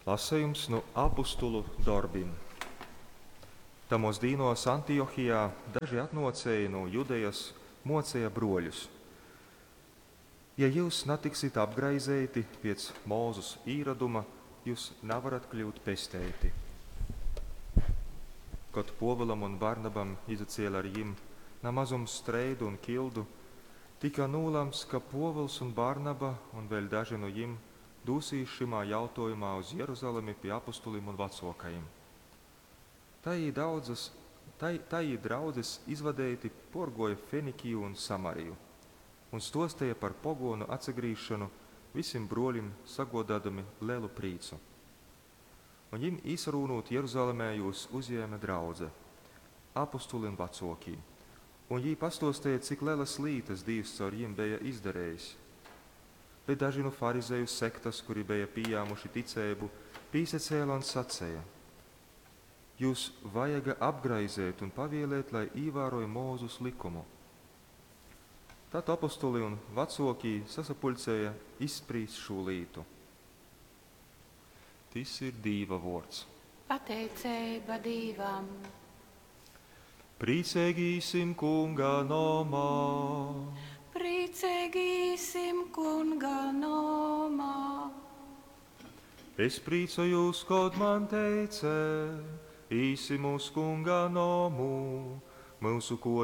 Lasejums nu apustulu dorbim. Tamos dīnos Antiohijā daži atnōcēji nu Judejas mōceja brōļus: Ja jyus natiksit apgraizeiti piec Mozus īroduma, jyus navarat kļūt pesteiti. Kod Pōvulam un Barnabam izaciele ar jim na mazums streidu un kildu, tika nūlamts, ka Pōvuls un Barnaba un vēļ daži nu jim dūsīs šymā jautōjumā uz Jeruzalemi pi apustulim un vacōkajim. Tai jī daudzas, tai, tai jī draudzes izvadeiti pōrgōja Fenikiju un Samariju un stōsteja par pogōnu atsagrīzšonu visim brōlim sagōdōdami lelu prīcu. Un jim īsarūnūt Jeruzalemē jūs uzjēme draudze, apustuli un vacōkī, un jī pastōsteja, cik lelas lītas Dīvs caur jim beja izdarejis. Bet daži nu farizeju sektas, kuri beja pījāmuši ticeibu, pīsacēle un saceja: Jūs vajaga apgraizeit un pavielēt, lai īvāroj Mozus likumu. Tad apostuli un vecōkī sasapuļcēja izsprīst šū lītu. Tys ir Dīva vōrds. Pateiceiba Dīvam. Prīceigi īsim Kunga nomā. Prīceigi īsim Kunga nomā. Es prīcojūs, kod man teice, īsim uz Kunga nomu, myusu kōjas.